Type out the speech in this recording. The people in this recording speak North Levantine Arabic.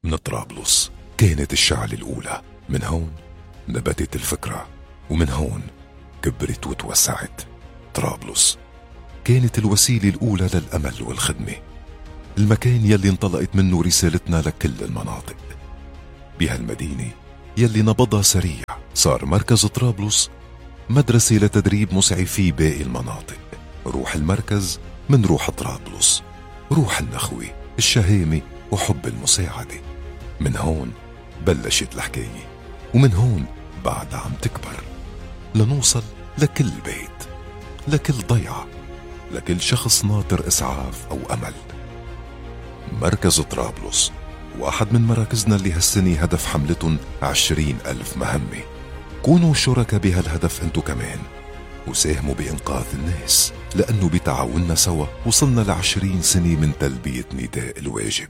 من طرابلس كانت الشعلة الأولى. من هون نبتت الفكرة، ومن هون كبرت وتوسعت. طرابلس كانت الوسيلة الأولى للأمل والخدمة، المكان يلي انطلقت منه رسالتنا لكل المناطق. بهالمدينة يلي نبضها سريع صار مركز طرابلس مدرسة لتدريب مسعفي باقي المناطق. روح المركز من روح طرابلس، روح النخوة، الشهامة وحب المساعدة. من هون بلشت الحكاية، ومن هون بعد عم تكبر لنوصل لكل بيت، لكل ضيعة، لكل شخص ناطر إسعاف أو أمل. مركز طرابلس واحد من مراكزنا اللي هالسنة هدف حملتهم 20,000 مهمة. كونوا شركاء بهالهدف انتو كمان، وساهموا بإنقاذ الناس، لأنه بتعاوننا سوا وصلنا ل20 سنة من تلبية نداء الواجب.